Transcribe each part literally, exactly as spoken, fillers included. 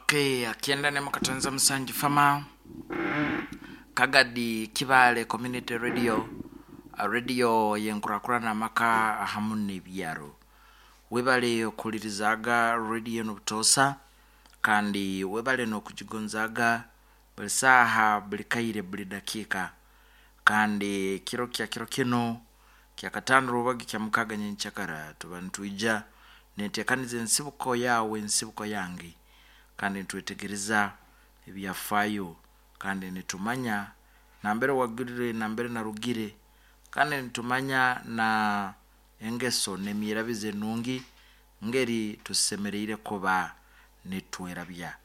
Okay, akienda ne mukatonza musanju fama Kagadi Kibale Community Radio, radio yenkurakurana amaka hamu n'ebyaro. Webale okuhulirizaga radio n'obutosa, kandi webale n'okugigonzaga buli saaha, buli kaire, buli dakiika. Kandi kiro kya kiro kino kyakatano rubagi kya mukaga nyenkyakara tuba nitwija netekaniza ensibuko yawe, ensibuko yange, kandi nitwetegereza ebyafaayo, kandi nitumanya nambere wagirire, nambere narugire, kandi nitumanya na engeso n'emyirabize enungi ngeri tusemereire kuba nitwerabya.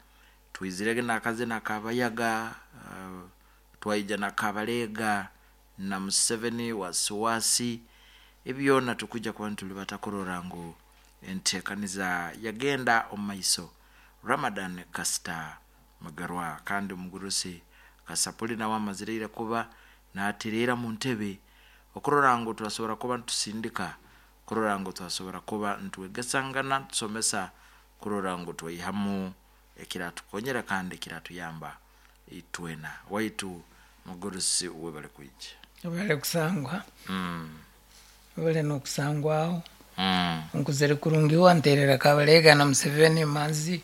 Twizirege n'akazina kabayaga, uh, twaija na Kabalega na Museveni wasiwasi, ebyona tukuja kuba nitulibata kurora ngu entekaniza yagenda omu maiso. Ramadan Kasita Mugarwa kandi omugurusi Kasapuli nawe amazireire kuba natereera mu ntebe okurora ngu twasobora kuba ntusindika, kurora ngu twasobora kuba nitwegesangana, ntusomesa, kurora ngu twaihamu ekiratukonyera kandi ekiratuyamba itwena. Waitu mugurusi webale kwija. Webale kusangwa. Mm. Webale n'okusangwaho. Mm. Nkuzire kurungi wanterera Kabalega na Museveni emanzi.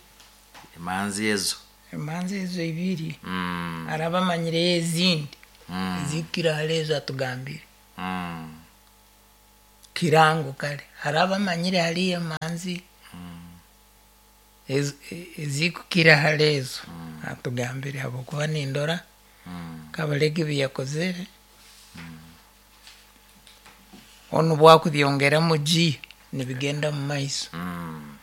Emanzi ezo. Emanzi ezo ibiri. Mm. Araba amanyireyo ezindi. Mm. Ezikira hare ezo atugambire. Mm. Kirango kare. Araba amanyire hariyo emanzi. Mm. Ezo, ezikukira hare ezo. Mm. Atugambire habwokuba nindora. Mm. Kabalega ebi yakozere. Onu bwakubyongeramu G nibigenda mu maiso. Mm.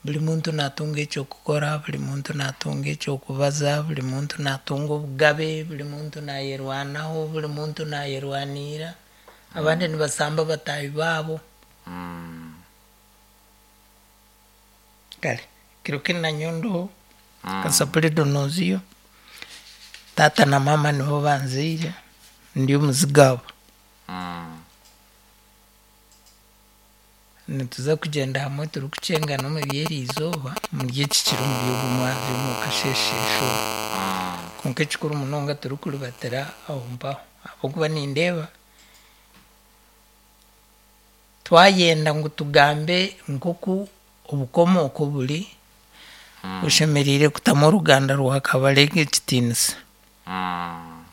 Buli muntu natunga ekyokukora, buli muntu natunga ekyokubaza, buli muntu natunga obugabe, buli muntu nayerwanaho, buli muntu nayerwanira. Abandi nibasamba bataahi baabo. Mm. Kare kiro kinu nanyowe Mm. Kasapuli Donoziyo, taata na maama nibo banzaire, ndi omuzigaba. Mm. Nituza kugyenda hamwe turikukyengana omu by'eriizooba, omuri eki kiro omuri ogu mwazyo omu kasheeshe. Mm. Kwonka ekikuru munonga turikuribatira aho mpaho ahabw'okuba nindeeba twayenda ngu tugambe nk'oku obukomooko buri, Mm. oshemereire kutamu oruganda rwa Kabalega ekitiinisa. Mm.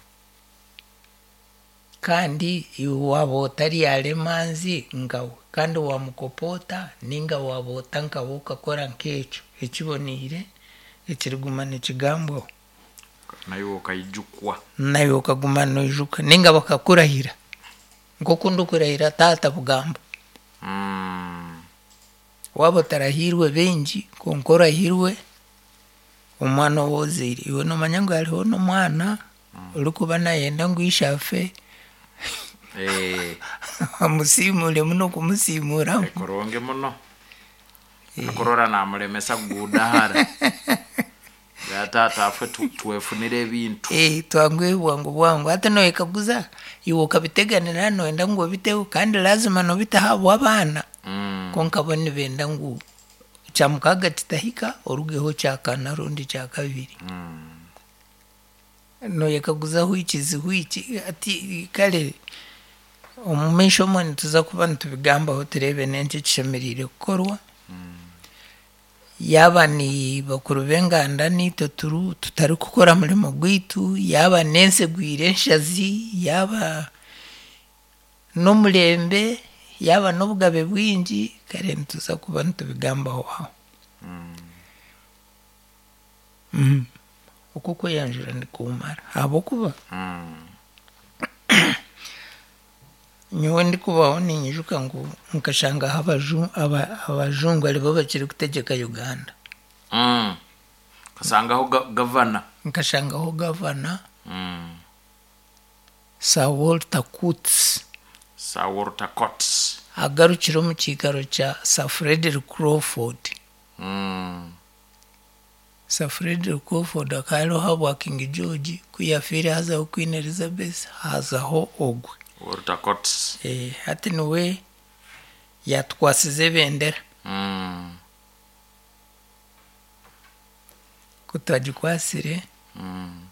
Kandi iwe waaba otaryara emanzi nkawe, kandi wamukopoota ninga waaba ota nkawe okakora nk'ekyo ekiboniire ekiriguma nikigambwaho. Naiwe okaijukwa. Naiwe okaguma noijuka ninga bakakurahira nk'oku ndikurahira taata bugambo. Mm. Waaba otarahirwe baingi kwonka orahirwe omwana ou ozaire, iwe noomanya ngu hariho n'omwana orikuba nayenda ngu ishe afe Eh, amusiimure muno kumusiimuramu. Kurungi muno. Akurora namulemesa kugudahara. Ya taata afe tu, twefunire ebintu. Eh, twanguhe bwangu bwangu hati noyekaguza iwe okabiteganira noyenda ngu obiteho kandi lazima nobiteho ahabw'abaana. Mm. Kwonka bo nibenda ngu kyamukaga kitahika orugeho kyakana rundi kyakabiri. Mm. Noyekaguza which is which ati kare omu maisho omwe nituza kuba nitubigambaho tureebe n'enki ekishemereire kukorwa. Mm. Yaaba ni bakuru b'enganda niitwe turu tutarikukora murimo gwaitu, yaaba n'ensi egwire enshazi, yaaba n'omurembe, yaaba n'obugabe bwingi, kare nituza kuba nitubigambaho aho. Mm. Mm. Oku okweyanjura nikumara ahabw'okuba Mm. nyowe ndikubaho ninyijuka ngu nkashangaho abaju, aba, abajungu aribo bakiri kutegyeka Uganda. Mm. Kasangaho ga, gavana. Nkashangaho gavana Mm. Sir Walter Coates. Sir Walter Coates. Agarukire omu kiikaro kya Sir Frederick Crawford. Mm. Sir Frederick Crawford akaba ariho ahabwa King George, ku yafiire hazaho Queen Elizabeth, hazaho ogwe. Walter Coates. Eh, hati niwe yatukwasize ebendera. Mm. Ku twagikwasire Mm.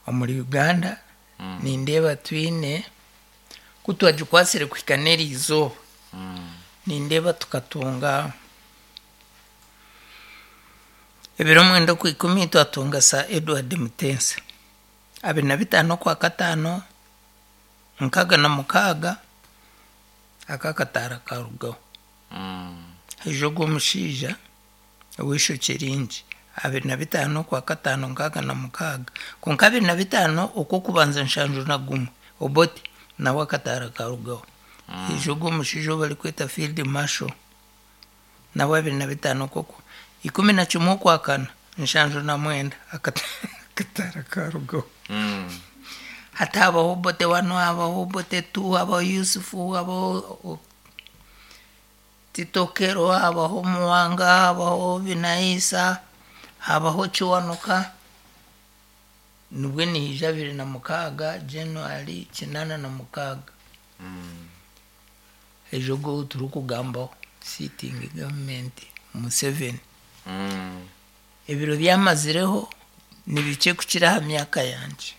omuri Uganda, Mm. nindeeba twine ku twagikwasire kuhika n'eri izooba, Mm. nindeeba tukatunga ebiro mwenda okwa ikumi twatunga Sir Edward Mutesa, abiri na bitaano okwa kataano nkaaga na mukaaga aka akataara karugaho. Mm. Haija ogwo omushaija ow'eishokye ringi, abiri na bitaano okwa kataano nkaaga na mukaaga, kwonka abiri na bitaano okw'okubanza nshanju na gumwe Obote nawe akataara karugaho. Haija ogwo omushaija ou barikweta Field Marshal, nawe abiri na bitaano okw'oku ikumi na kimwe okwakana nshanju na mwenda akata- akataara karugaho. Mm. Hati habaho Obote one, habaho Obote two, habaho Yusufu, habaho o- Tito Okello, habaho Muwanga, habaho Binaisa, habaho Kiwanuka. Nibwe niija abiri na mukaaga January kinaana na mukaaga. Mm. Ejo ogwo ou turikugambaho sitting government Museveni. Mm. Ebiro byamazireho ni bikye kukira aha myaka yangye.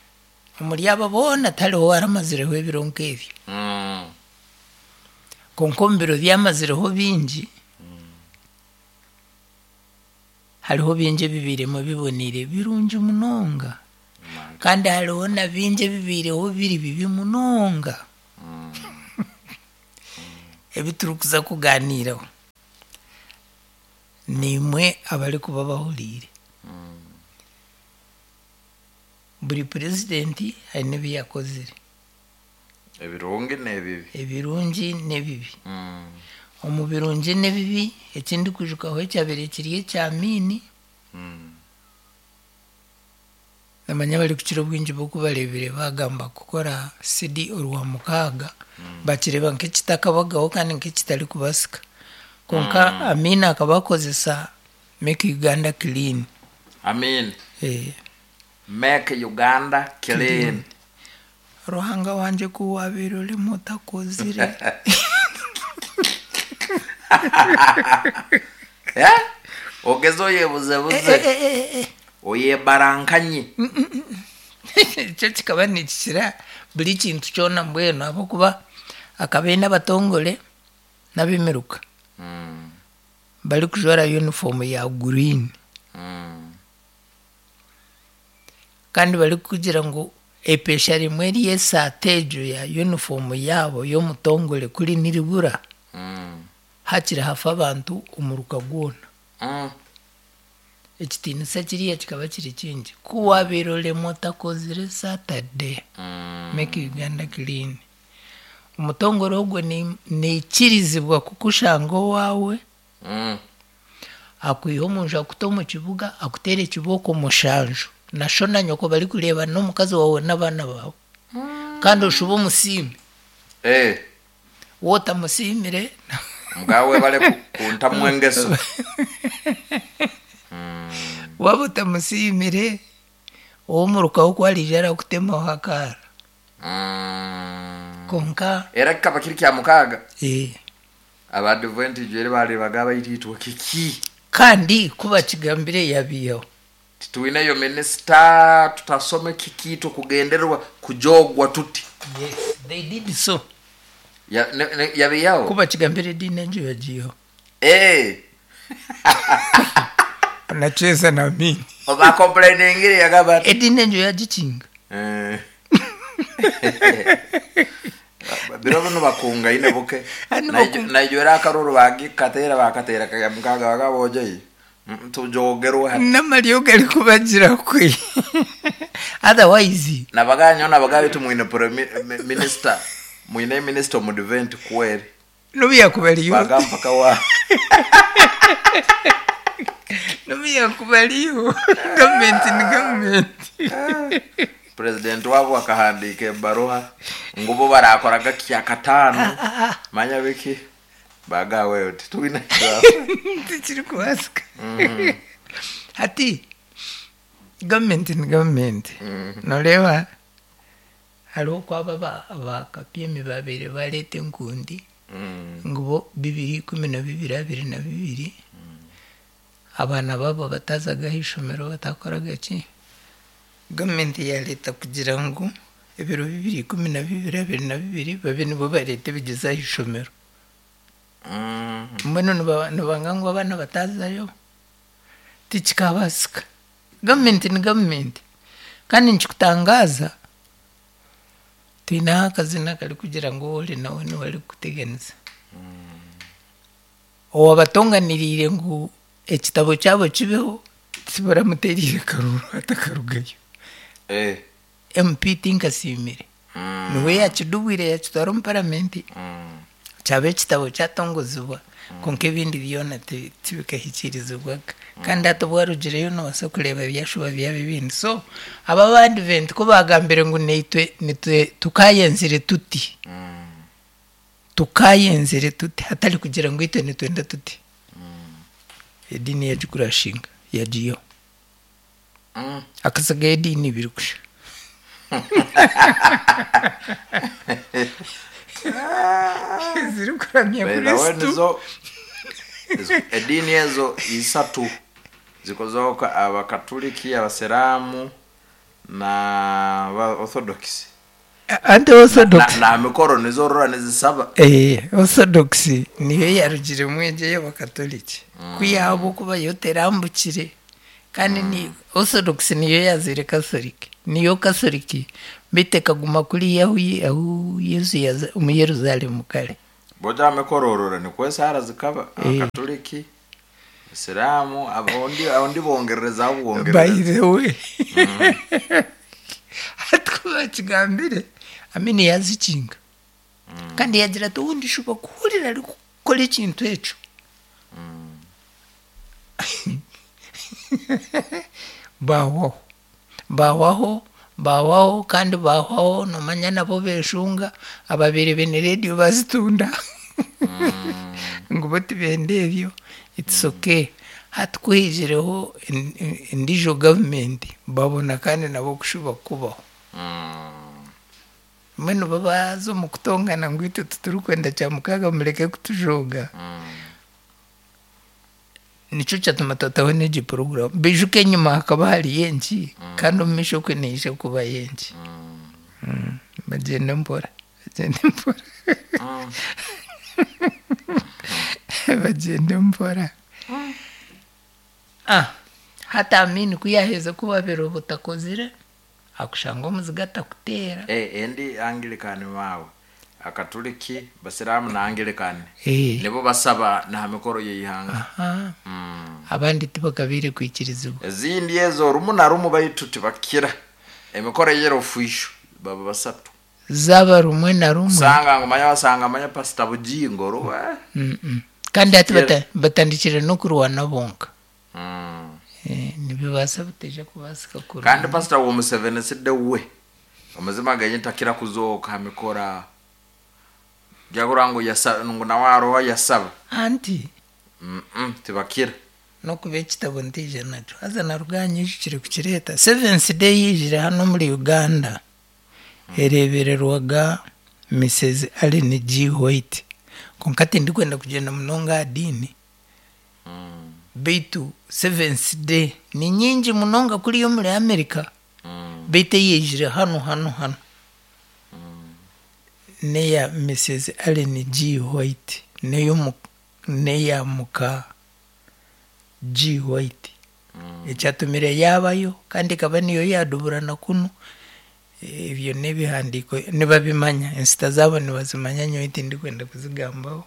Omuri aba boona tihariho owaramazireho ebiro nk'ebyo. Mm. Kwonka omu biro byamazireho bingi, hariho bingi ebibairemu biboniire birungi munonga. Man. Kandi hariho na bingi ebibaireho biri bibi munonga. Mm. Ebi turikuza kugaaniiraho. Niimwe abarikuba bahuriire. Mm. Buri purezidenti aine ebi yakozire. Ebirungi n'ebibi. Ebirungi n'ebibi. Mm. Omu birungi n'ebibi, ekindikwijukaho ekyabaire kiri ekya Amiini, Mm. namanya abarikukira obwingi bo kubareebire bagamba kukora sidi orwa mukaaga, bakireeba nk'ekitakabagaho kandi nk'ekitarikubaasika. Kwonka Amiini akaba akozesa Make Uganda Clean. Amin. Eh, Make Uganda clean. Ruhanga wangye ku waabaire orimu otakozire. Eh? Ogeze oyebuzebuze. Eh, eh, eh, eh. Oyebarankanye. Ekyo kikaba nikikira buri kintu kyona mbwenu ahabw'okuba akaba aine abatongore n'ab'emiruka Mm. barikujwara uniform ya green, Mm. kandi barikugira ngu epesha rimwe ry'esaati egyo ya uniform yaabo y'omutongore kuri niribura, Mm. hakiri hafa abantu omuruka gwona. Mm. Ekitiinisa kiriya kikaba kiri kingi. Ku waabaire oremwa otakozire Saturday, Mm. Make Uganda Clean. Omutongore ogwo ni- naikirizibwa kukushanga owaawe, Mm. akwiha omunju akuta omu kibuga, akuteera ekibooko mushanju. Na sho na nyoko barikureeba n'omukazi waawe n'abaana baawe. Kandi oshube omusiime. Eh. Wootamusiimire, Mugawe bale ku- kuntamwa engeso. waaba otamusiimire, ow'omurukaho ku ariija arakutemaho akaara. Mm. Konka Era kikaba kiri kya mukaaga. eh, Abadventist eri bareebaga abaititwe kiki? kandi ku bakigambire yabiihaho. Titwineyo minisita tutasome kiki tukugendererwa kujogwa tuti. Yes, they did so. Ya, ne, ne, yabiyaho. Ku bakigambire ediini egyo yagiihaho. Eh. Anacheza na mimi. Oba complaining yagamba ati. Ediini egyo yagikinga. Eh. Biro bino bakungaine buke. Ani Naijo- bakunga- Naijo era akaruru bagikatera bakatera kaya mukaga bakabojoyi. Tujogerwa hati. N'amaryo garikubagira kwe. Otherwise, Nabaganyo nabagabe tumwine pre minister. Mwine minister omudvent kweri. n'obu yakuba ariyo. Bagamba kawa. N'obu yakuba ariyo. Gavumenti ni gavumenti. President wabo akahandika ebaruha ngu bo barakoraga kya katano. Manya biki? Bagawe uti twine. Tikirikubaasika. Hati gavumenti ni gavumenti. Noreeba hariho oku aba aba K P M babaire bareeta enkundi Mm. ngu bo bibiri ikumi na bibiri abiri na bibiri. Abaana baabo batazaga ah'ishomero batakoraga ki. Gavumenti yareeta kugira ngu ebiro bibiri ikumi na bibiri abiri na bibiri babe nibo bareeta ebigyezo ah'ishomero. Mm. Mbwenu niba- nibanga ngu abaana batazayo, tikikabaasika. Gavumenti ni gavumenti. Kandi nikikutangaaza, twineho akazina karikugira ngu ou ori nawe niwe arikukuteganisa. Owabatonganiriire ngu ekitabo kyabo kibeho, tibaramuteereire karuuru atakarugayo. Eh. M P Tinkasiimire. Mm. Niwe yakidubwire yakitwara omu paramenti. Mm. Kyaba ekitabo kyatongozibwa, konka ebindi byona ti- tibikahikiirizibwaga. Kandi hati obwarugireyo nobaasa kureeba byashuba byaba ebindi. So aba abadiventi ku bagambire ngu naitwe nitwe tukayenzire tuti, Mm. tukayenzire tuti, hatari kugira ngu itwe nitwenda tuti, ediini yagikurashinga yagiihaho. Mm. Hakasigayo ediini ibiri kusha. Zirikuramya By the way, Kristo. nizo ezo- ediini ezo isatu zikozoka: abakatuliki, abasiramu na ba Orthodox. Anti Orthodox. na, na mikoro nizorora nizisaba. Eh, Orthodox niyo yarugiremu egyo y'abakatoliki. Kwihaho kuba yo terambukire. Kandi ni Orthodox niyo yazire Catholic. Niyo Catholic beitu ekaguma kuriya ahu ahu Yesu yaza omu Yerusaalemu kare. Boja mikoro orora nikwo esaara zikaba abakatuliki, abasiramu, abondi abondi bongererezaho By bwongerereza. the way, hati ku bakigambire, Amini yazikinga. Kandi yagira ati obundi shuba kuhurira arikukora ekintu ekyo. Bahwaho. Bahwaho, bahwaho kandi bahwaho nomanya nabo beshunga ababaire baine rediyo bazitunda. Ngu bo tibenda ebyo, it's okay. Hati ku hiijireho endiijo gavumenti babona kandi nabo kushuba kubaho. Mm. Mbwenu bo baaza omu kutongana ngu itwe titurikwenda kyamukaaga, mureke kutujooga. Mm. Nikyo kyatuma twataho n'egi poroguramu. Bijuka enyima hakaba hariyo enki, kandi omu maisho okwe neija kubayo enki. Mm. Bagyende mpora, bagyende mpora. Mm. Bagyende mpora. Ah, hati Amini ku yaaheza kubabira obutakozire, akushanga omuziga atakuteera. Eh, endi Anglican mawe, akatuliki, basiramu na Anglican Eh. nibo basaba na mikoro yeihanga. Aha. Mm. Abandi tibakabaire kwikirizibwa. Ezindi ezo rumu na rumu baitu tibakira emikoro yera ofisho baba basatu. Zaba rumwe na rumwe. Sanga ngu manya basanga manya Pastor Bujingo ruwa. Mm-mm. Kandi hati bata- batandikire n'okurwana bonka. Mm. Eh, nibibaasa bitaija kubaasika kurwana. Kandi Pastor wo Museveni sidde we amazima genye takira kuzooka mikora jagura ngu yasa ngu nawe aroho yasaba. Anti mm -mm, tibakira. N'okuba ekitabo ntiije nakyo haza naruganyijukire kukireeta. Seventh Day yiijire hano omuri Uganda ereebererwaga Missus Ellen G White, konka tindikwenda kugyenda munonga aha diini, mm. beitu Seventh Day ni nyingi munonga kuriya omuri America, Mm. beitu eyaijire hano hano hano neya Missus Ellen G White, neyomu neya muka G White. Mm. Ekyatumire yabayo kandi ekaba niyo yaduburana kunu, ebyo n'ebihandiiko nibabimanya, ensita zaabo nibazimanya, nyowe tindikwenda kuzigambaho,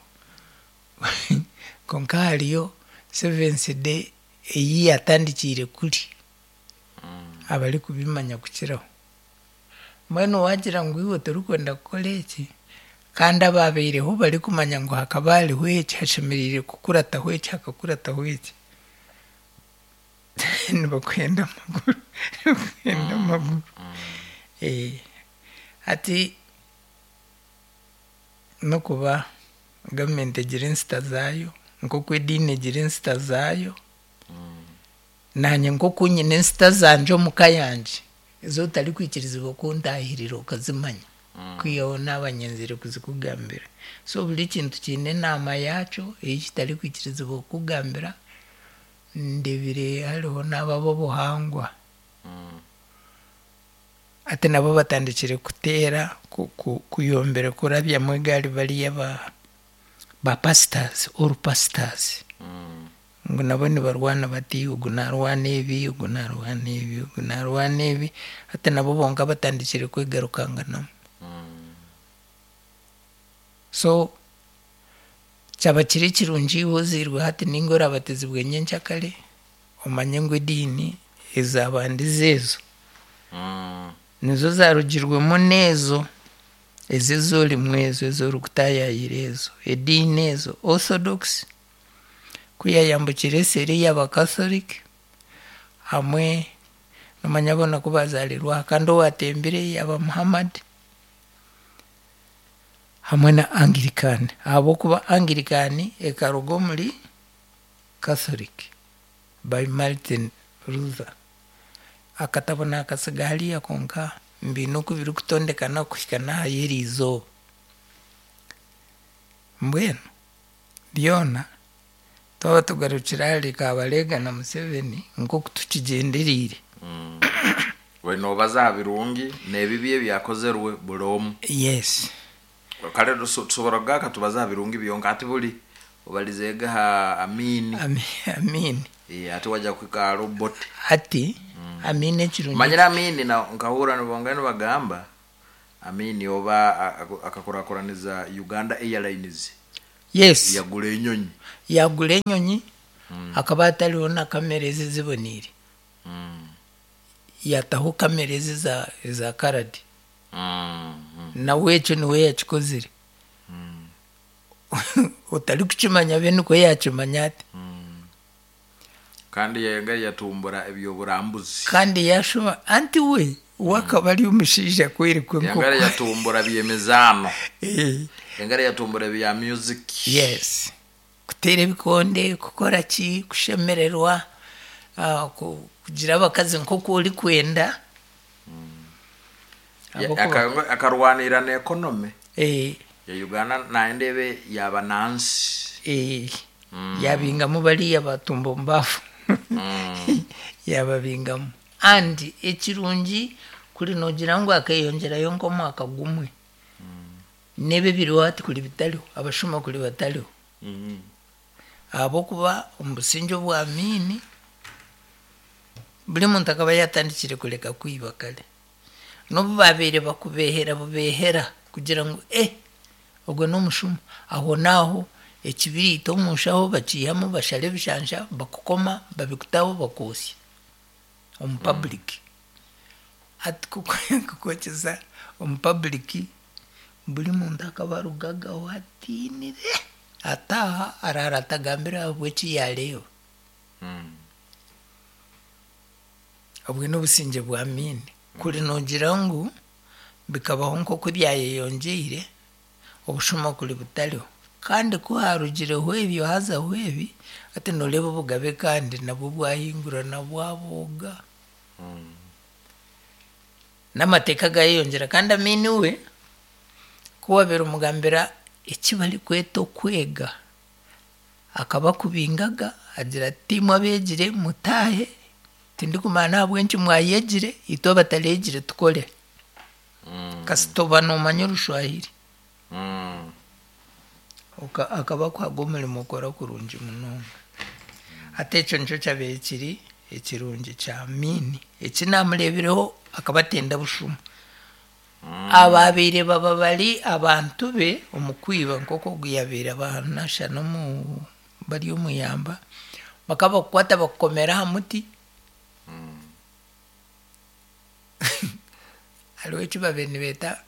konka hariyo Seventh Day eyi yatandikiire kuri abarikubimanya kukiraho. Mbwenu wagira ngu iwe torikwenda kukora eki, kandi ababaireho barikumanya ngu hakaba hariho eki, hashemereire kukurataho eki, hakakurataho eki, nibakwenda amaguru, nibakwenda amaguru. Eh, hati n'okuba gavumenti egira ensita zaayo nk'oku ediini egira ensita zaayo, naanye nk'oku nyine ensita zangye omu ka yangye ezi otarikwikirizibwa kuntahirira okazimanya, kwihaho naaba nyenzire kuzikugambira. So buri kintu kiine enaama yaakyo ei kitarikwikirizibwa kukugambira. Ndebire hariho n'ab'obuhangwa. Mm. Ati nabo batandikire kuteera ku- ku- kuyombera kurabyamu egaari bariya ba ba pastors all pastors. Mm. Ngu nabo nibarwana bati ogu narwana ebi, ogu narwana ebi, ogu narwana ebi, hati nabo bonka batandikire kwegarukanganamu. Mm. So kyaba kiri kirungi iwe ozairwe hati ninga orabatizibwe nyenkyakare, omanye ngu ediini ezabandize ezo Mm. nizo zarugirwemu n'ezo ezo ezorimu ezo ezorikutayaayira ezo ediini ezo orthodox kuyayambukire eseri y'abakatholic hamwe nomanya boona ku bazarirwe aha kandi owatembire yaba Muhammad hamwe na Anglican, ahabw'okuba Anglican ekaruga omuri Catholic by Martin Luther. Akatabo nakasiga hariya konka mbiine oku birikutondekana kuhika n'aha y'eri izooba. Mbwenu byona twaba tugarukire ahari Kabarega na Museveni nk'oku tukigyendereire. Mm. We nobaza aha birungi n'ebibi ebyakozerwe buri omwe. Yes. Kare tuso- tusobora kugaruka tubaze aha birungi byonka ati buri obalizeege aha Amini. Ami- Amini. Eh, ati wajja kuhika aha Robot. Hati Amini ekirungi. Manyire Amini na nkahurra nibongera nibagamba Amini oba a- a- akakurakuraniza Uganda Airlines. Yes. Yagura enyonyi. Yagura enyonyi akaba atariho na kamera ezi ziboniire. Mm. Yataho kamera ezi eza eza karadi. Mm. Mm. Nawe ekyo niwe yakikozire. Otarikukimanya be nikwo yakimanya ati. Kandi yenga yatumbura ebyoburambuzi. Kandi yashuma anti we we akaba ari omushaija kwerekwa Yangara enkoko. yatumbura byemizaano. Eh, Yangara yatumbura ebya music. Yes. Kuteera ebikonde, kukora ki, kushemererwa, ah, ku- kugira abakazi nk'oku orikwenda. Ya- Ahabw'okuba- aka- akarwanira na economy Eh, ya Uganda nandebe yaba nansi. eh, yabingamu bariya batumba omu baafu. Yababingamu. And ekirungi kuri noogira ngu akeyongyerayo nk'omwaka gumwe. N'ebi ebiriho hati kuri bitariho, abashuma kuri batariho. Mm. Ahabw'okuba omu busingye obwa Amini, buri muntu akaba yatandikire kureka kwiba kare. N'obu babaire bakubehera bubehera kugira ngu eh ogwo n'omushuma, aho n'aho ekibiriiti omu nshaho bakiihamu bashara ebishansha bakukoma babikutaho bakwosya omu public. Hati kukwokyeza omu public buri muntu akaba arugagaho atiinire ataaha araara atagambire ahabw'eki yareeba. Mm. Obwe n'obusingye bwa Amini. Kuri noogira ngu bikabaho nk'oku byayeyongyeire, obushuma kuri butariho. Kandi ku harugireho ebyo hazaho ebi, hati nooreeba obugabe kandi nabwo bwahingurana bwabooga. Mm. N'amateeka gayeyongyera kandi Amini we ku wabaire omugambira eki barikweta okwega, akaba akubingaga agira ati imwe abeegire mutaahe, tindikumanya n'ahabw'enki mwayegire, itwe abatareegire tukore. Mm. Kasita oba noomanya orushwahiri. Mm. Oka- akaba akuhaga omurimo okora kurungi munonga. Hati ekyo nikyo kyabaire kiri ekirungi kya Amini. Eki namureebireho akaba atenda bushuma. Ababaire baba bari abantu be omu kwiba nk'oku ogu yabaire abanasha n'omu bari omuyamba, bakaba bakukwata bakukomera aha muti. Hariho eki babaire nibeeta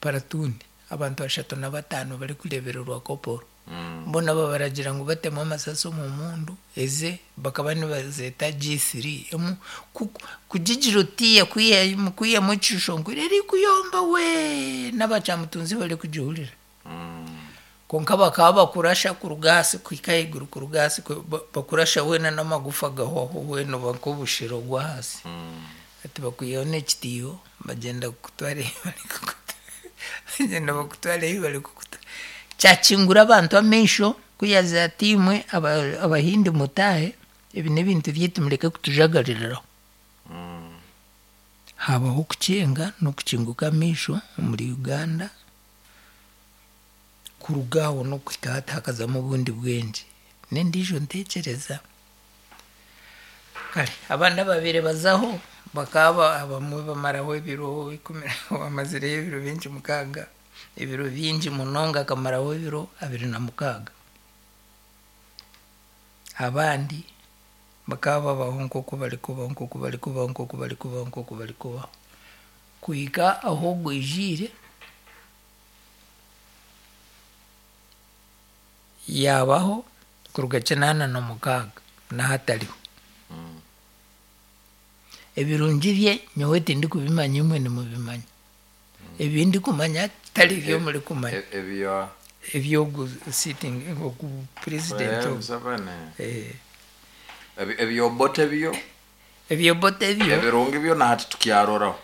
paratuuni, abantu bashatu na bataano barikureebererwa koporo. Mm. Boona babaragira ngu batemu amasasi omu mundu eze bakaba nibazeeta G three emu ku- kugigira otiya kwihamu kwihamu ekishusho ngu erikuyomba we n'abakyamutunzi barikugihurira. Mm. Konka bakaba bakurasha kuruga ahansi kuhika ahaiguru kuruga ahansi ku- ba- bakurasha weena n'amagufa gahwaho weena oba nk'obushero bw'ahansi. Mm. Hati bakwihaho n'ekitiiho bagyenda kukutwara ehi barikukuta bagyenda bakutwara ehi barikukuta. Kyakingura abantu amaisho kuyaza ati imwe aba- abahindi mutaahe. Ebi n'ebintu byaitu, mureke kutujagaririraho. Mm. Habaho okukyenga n'okukinguka amaisho omuri Uganda. Kuruga aho n'okuhika hati hakazamu obundi bwengye n'endiijo ntekyereza. Kare abandi ababaire bazaho bakaba abamwe bamaraho ebiro ikumi, bamazireyo ebiro bingi mukaaga, ebiro bingi munonga, akamaraho ebiro abiri na mukaaga. Abandi bakaba babaho nk'oku barikubaho, nk'oku barikubaho, nk'oku barikubaho, nk'oku barikubaho, kuhika aho ogwijiire yabaho kuruga kinaana na mukaaga n'ahatariho. Mm. Ebirungi bye nyowe tindikubimanya, imwe nimubimanya. Ebi ndikumanya tari byo murikumanya. E- ebyo Ebyogu sitting ogu president Eh, ogu. Museveni. Eh, Ebi- ebyobote byo ebyobote byo ebirungi byo nahati tukyaroraho.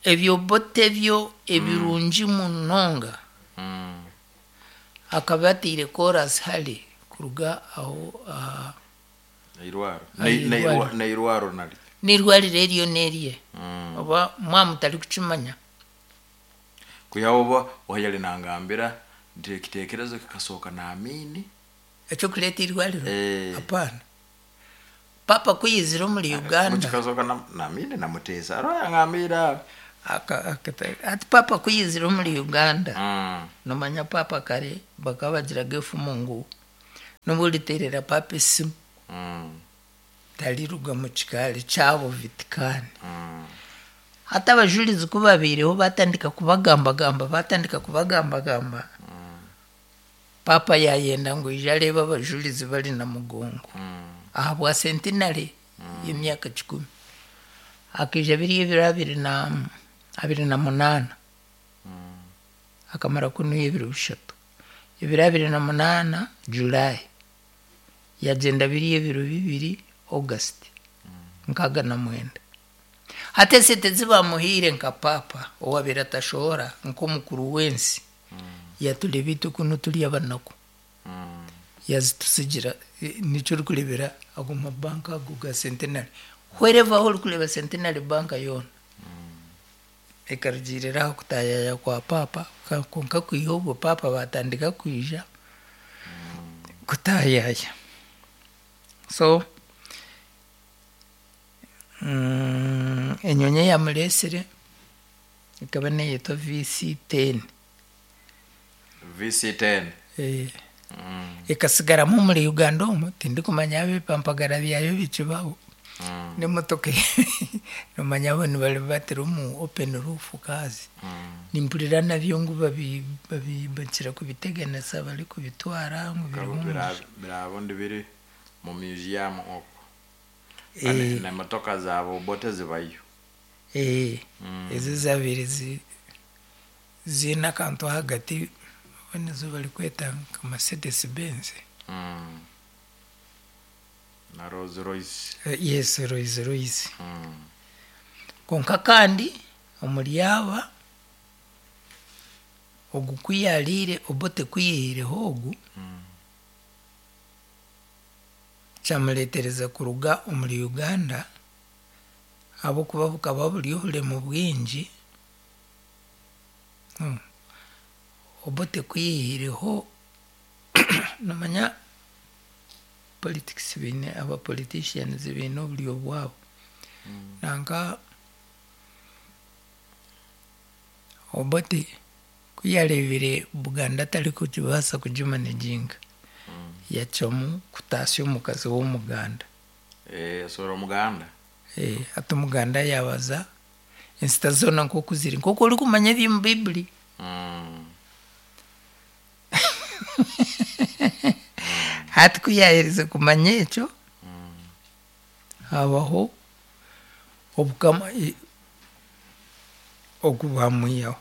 Ebyobote byo ebirungi munonga, Mm. akaba atiire chorus hare kuruga aho aha. Eirwaro. Airwaro. Neirwaro naryo. N'irwariro eryo n'erye. Mm. Oba mwamutari kukimanya. Kwihaho oba wayali nangambira nti ekitekerezo kikasooka naamini. Ekyokureeta irwariro? Eh. Apaana, papa kuyizira omuri Uganda. Kikasooka na- naamini namuteesa aro yangambira. Aka- akata- ati papa kuyizira omuri Uganda, Mm. nomanya papa kare bakaba bagiraga efumu ngu nobu oriteerera papa esimu, Mm. tariruga mu kikaari kyabo Vatican. Mm. Hati abajurizi ku babaireho batandika kubagambagamba, batandika kubagambagamba, papa yayenda ngu ije areebe abajurizi bari na mugongo. Mm. Aha bwa centenary y'emyaka kikumi akaija biri ebiro abiri na abiri na munaana. Akamara kunuya ebiro bishatu, ebiro abiri na munaana July, yagyenda biri ebiro bibiri August nkaaga na mwenda. Hati esente zibamuhiire nka papa owabaire atashohora nk'omukuru w'ensi, yatureba itwe kunu turi abanaku, Mm. yazitusigira. Eh, nikyo orikurebera ago mabanka ago ga Centenary, wherever aho orikureeba Centenary Bank yoona ekarugiirira aha kutayaya kwa papa. Ka- kwonka kwiha obwo papa batandika kwija kutayaya. So mm, enyonyi eyamureesire ekaba neyetwa V C ten. V C ten. Eh, Mm. ekasigaramu omuri Uganda omu, tindikumanya abepampagara byayo bikibaho. Mm. N'emotoka nomanya abo nibari batira omu open roof cars. Mm. Nimpurira nabyo ngu babi- babi- bakira kubiteganisa bari kubitwara ngu birimu. Bira- birabundi biri mu museum okwo. Eh, Nemotoka zaabo Obote zibayo. eh, Mm. ezo zabaire zi- ziine akantu ahagati, oba nizo barikweta nka Mercedes Benz. Mm. Na Rolls Royce. Eh, yes, Rolls Royce. Mm. Konka kandi omuri aba ogu kuyariire, Obote kuyihireho ogu, Mm. kyamureetereza kuruga omuri Uganda ahabwokuba bukaba buri obulemu bwingi. Hmm. Obote kuyihireho, nomanya politics biine aba politicians biine oburyo bwabo. Mm. Nanka Obote kuyareebire Buganda atarikugibaasa kugimanaginga, Mm. yacwamu kutaasya omukazi w'omuganda. Eh, sora omuganda. Eh, ati omuganda yabaza ensita zoona nk'oku ziri, nk'oku orikumanya eby'omu Biibuli. Mm. Hati ku yaherize kumanya ekyo, Mm. habaho obukama i- ogu bamwihaho.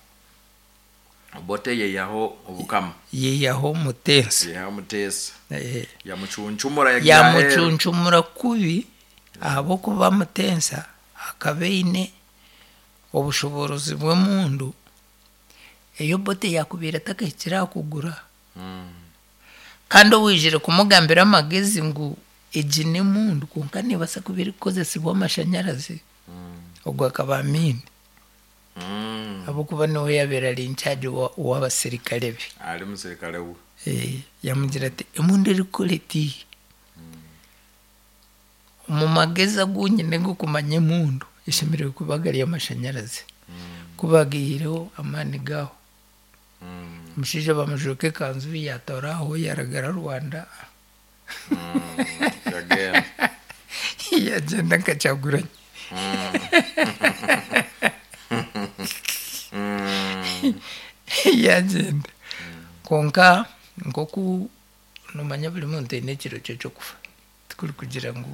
Obote yeyaho obukama. Yihaho Muteesa. Yeyaho Muteesa. Eh, yamucuncumura yagira aheeru. Yamucuncumura kubi ahabwokuba Muteesa akaba aine obushoborozi bw'emundu eyo Obote yakubaire atakahikire aha kugura. Mm. Kandi owijire kumugambira amagezi ngu Egi n'emundu kwonka neebaasa kuba erikukozesibwa amashanyarazi. Ogwo akaba Amin. Mm. Ahabw'okuba niwe yaabaire ari incharge w'abasirikare be. Ali musirikare we. Eh, yamugira ati emundu erikukora eti, omu magezi agu nyine g'okumanya emundu eshemereire kuba gari amashanyarazi. Ku baagaihireho amaani gaaho, Mm. omushaija bamujweka ekanzu yaatoora aho yaragara Rwanda. Mm. Yagenda. Yagyenda nka Kyagulanyi. Mm. Yagyenda. Kwonka nk'oku noomanya buri muntu aine ekiro kye ky'okufa, tikuri kugira ngu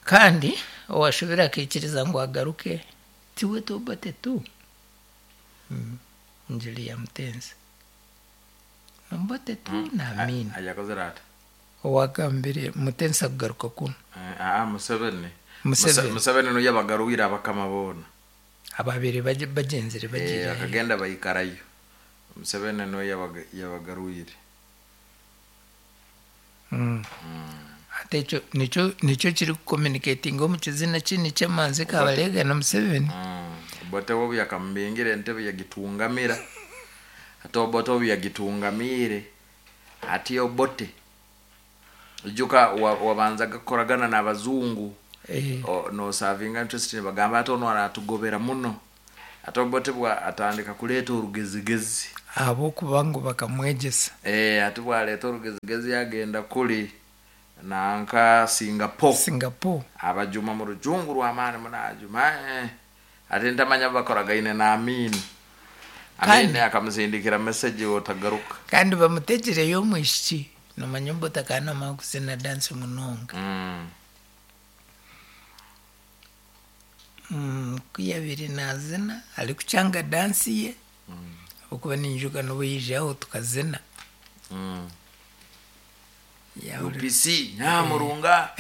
kandi owaashobire akaikiriza ngu agaruke tiwe Obote tu. Mm. Engiri ya Mutenzi. Obote tu na Amin. Ajakozere ata? Owagambire Mutenzi akugaruka kunu. Eh, aa Museveni. Museveni. Muse- Museveni niyo yabagaruwire abakama boona. Ababaire bagy- bagyenzire Eh, bagiire. akagenda baikarayo. Museveni niwe yabaga- yabagaruwire. Mm. Ate ekyo nikyo nikyo kirikucommunicatinga omu kizina kinu ky'emanzi Kabalega na Museveni. Mm. Obote obu yakamubingira entebe yagitungamira. Ate Obote obu yagitungamiire, ati Obote ijuka wa- wabanzaga kukoragana n'abazungu, Eh, o- nosavinga interest, nibagamba ate ono aratugobera muno. Ate Obote bwa atandika kuleeta orugezigezi. Ahabw'okuba ngu bakamwegyesa. Eh, ate bwaleeta orugezigezi yagenda kuli nanka Singapore. Singapore. Abajuma mu rujungu rw'amaani munajuma, eh. Ate ntamanya bakoragaine na Amin. Kandi- Amin akamusindikira message otagaruka. Kandi bamutegireyo omwishiki. Nomanya Obote akaba naamanya kuzina dance munonga. Mm. Mm, ku yabaire naazina arikucanga dance ye, ahabw'okuba ninyijuka n'obu yaija aho tukazina. Mm. Yahurira- U P C Nyamurunga,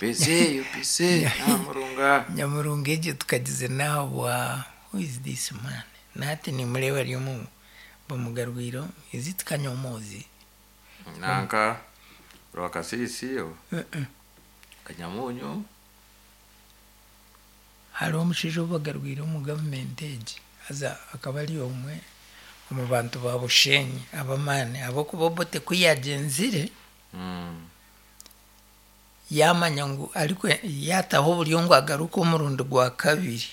P C U P C Nyamurunga. Nyamurunga egyo tukagizina ahabwa, who is this man? Nahati nimureeba ari omu bamugarwire, is it Kanyomozi? Nanka Rwakasisi o Uh-uh. Kanyamunyu. Hariho omushaija ou bagarwire omu gavumenti egi, haza akaba ari omwe omu bantu ba Bushenyi ab'amaani, ahabw'okuba Obote ku yagyenzire, Mm. yamanya ngu ariko yataho oburyo ngu agaruke omurundi gwa kabiri,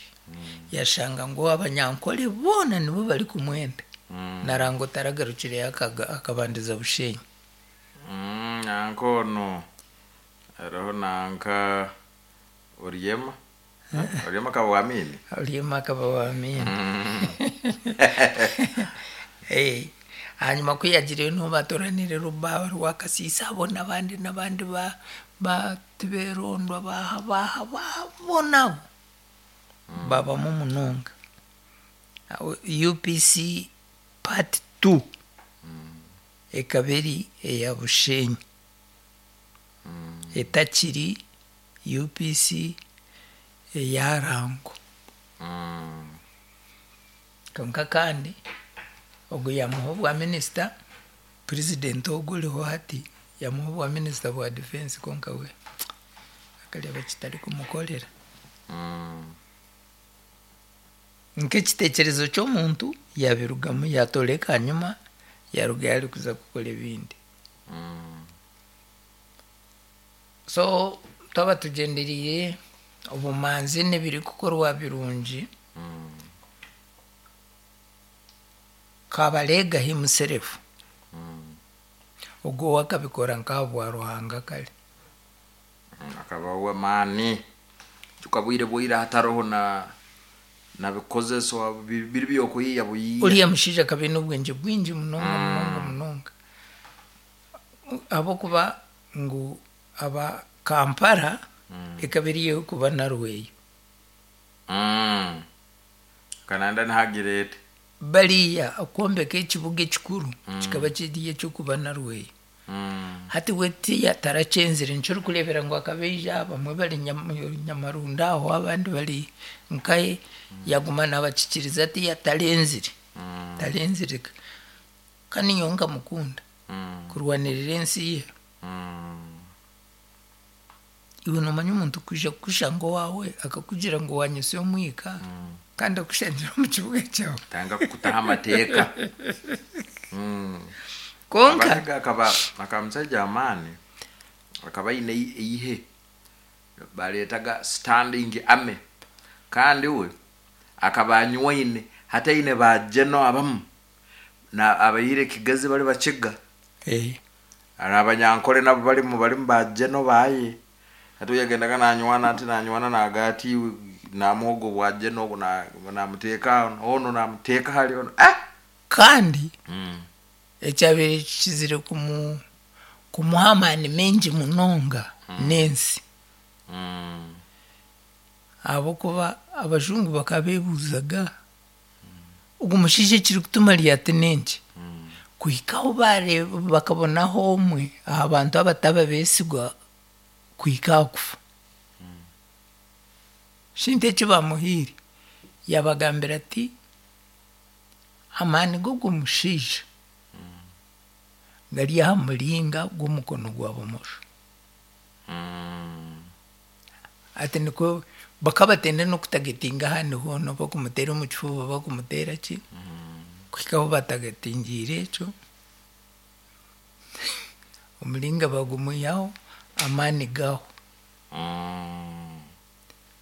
yashanga ngu abanyankole boona nibo barikumwenda. Mm. Narango taragarukireyo akaga- akabandiza Bushenyi. Mm, nanka ono hariho nanka Oryema. Oryema akaba wa Amini. Oryema akaba wa Amini. Eh, hanyuma ku yagireyo niho batoranire Rubaaba Rwakasiisa abo n'abandi n'abandi ba ba Tiberondwa baha baha baha boona abo babamu munonga. Aho U P C part two ekaba eri eya Bushenyi, etakiri U P C eya Rango. Mm. Konka kandi ogwo yamuha obwa minisita, president ogwo oriho hati yamuha obwa minisita bwa defense, konka we akareeba kitari kumukorera. Mm. Nk'ekiteekyerezo ky'omuntu yabirugamu yatoreka hanyuma yarugayo arikuza kukora ebindi. Mm. So twaba tugyenderiire obumanzi n'ebirikukorwa birungi. Mm. Kabalega himself, Mm. ogwo we akabikora nk'ahabwa Ruhanga kare. Akaba w'amaani tukabwire bwire hatariho na na bikozeso bi- biri byokuyiya buyiya. Uriya mushaija akaba aine obwengye bwingi munonga munonga munonga, ahabw'okuba ngu aba Kampala ekaba eriyo kuba narweyo. Mm. Kananda nihagirete. Bariya okwombeka ekibuga ekikuru kikaba kiri ekyokuba narweyo. Mm. Hati we tiya tarakyenzire, nikyo orikureebera ngu akaba aija bamwe bari Nyam- Nyamarunda aho, abandi bari nkaye, yaguma nabakikiriza tiya tarenzire. Mm. Tarenzire kandi nyowe nkamukunda Mm. kurwanirira ensi ye. Iwe noomanya omuntu kwija kukushanga owaawe akakugira ngu wanyusya omwika kandi akushangira omu kibuga kyawe. Tanga kukutaho amateeka. Konka Abahiga akaba akaba musajja amaani, akaba aine eihe bareetaga standing army, kandi we akaba anywaine hati aine ba geno abamu na abaire Kigezi bari Bakiga. Eh, hari Abanyankore nabo barimu barimu ba geno baye. Hati yagendaga nanywana, ati nanywana nagati namuhogo bwa geno ogu na- namuteeka ono, namuteeka hali ono, eh! Kandi mm. ekyabaire kikizire kumu kumuha amaani maingi munonga n'ensi, Mm. ahabw'okuba abajungu bakaba beebuuzaga ogu mushaija ekirikutuma ryati n'enki, kuhika ahu bareeba bakabonaho omwe aha bantu abataba beesigwa kuhika aha kufa. Shintu eki bamuhaire, yabagambira ati amaani g'ogu mushaija gari aha muringa gw'omukono gwa bumosho. Mm. Ati nikwo bakabatenda n'okutagetinga ahandi hoona, bakumuteera omu kifuba, bakumuteera ki, kuhika ahu batagatingiire ekyo omuringa bagumwihaho, amaani gaho. Mm.